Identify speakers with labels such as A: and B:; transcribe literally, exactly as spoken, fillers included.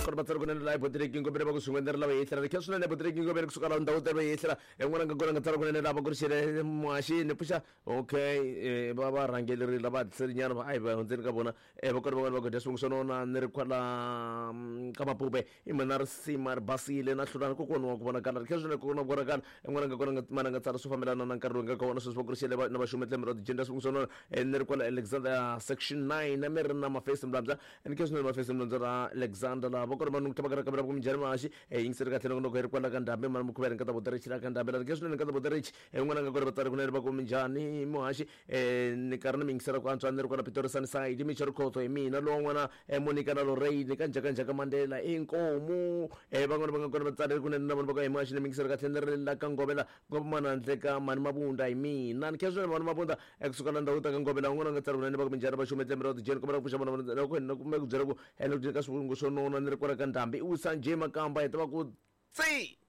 A: kona vatsari kunene laha botireki ngopere va ku swin'we ndzi ri lava yehlela ri kha swinene botireki ngopere kusuka laha ndhawu ta yehlela en'wana nga kona nga tsala kunene laha va ku ri xele muhaxi ni pfuxa okay eh, va va rhangeleri lava hatliselinyana va a hi va hundzeni ka vona eh, va kona van'wana va ku dya swivongo swa nona ni ri kwala mm, ka mapupe i mina risima ri basile na hlulana kokwana wa ku vonakala ri kha swinene kokwana wa ku vonakala en'wana nga kona nga mana nga tsala swo fambelana na nkarhi lowu nga ka wona sweswi va ku ri xele va- na vaxumi tlembe ra ti-gender swivongo swa nona eh, ni ri kwala Alexander section nine na mi ri na mafesi mlambya ni kha swinene mafesi mlambya ra Alexander laha va kona vanhu ku tlhava ka ra ku minjhani mahaxi eh, yingiseri kahle loko loko hi ri kwala ka ndhambi mani mukhuveri nkata boterichi la ka ndhambi la ri kha swinene nkata boterichi en'wana nga kona vatsari kunene va ku minjhani muhaxi eh, ni karhi ni mi yingisela ku antswa ni ri kwala Pitori Sunnyside Michel Khotho hi mina lowan'wana eh, Monica na Lorraine ka njhakanjhaka Mandela inkomu eh, van'wana va nga kona vatsari kunene na vona va ku hi muhaxi ni mi yingisela kahle ni ri la ka Ngovela ngopfu handle ka mani Mabunda hi mina ni kha swinene mani Mabunda ekusuka la ndhawu ta ka Ngovela van'wana va nga tsari kunene va ku minjhani va xume tlembe ra tijeni kombela ku pfuxa vona vona loko ni kumbe ku byela ku ene ku ka swivungu swo nona ni ri kwala ka ndhambi i wisa njhe Makamba hi tiva ku tsi.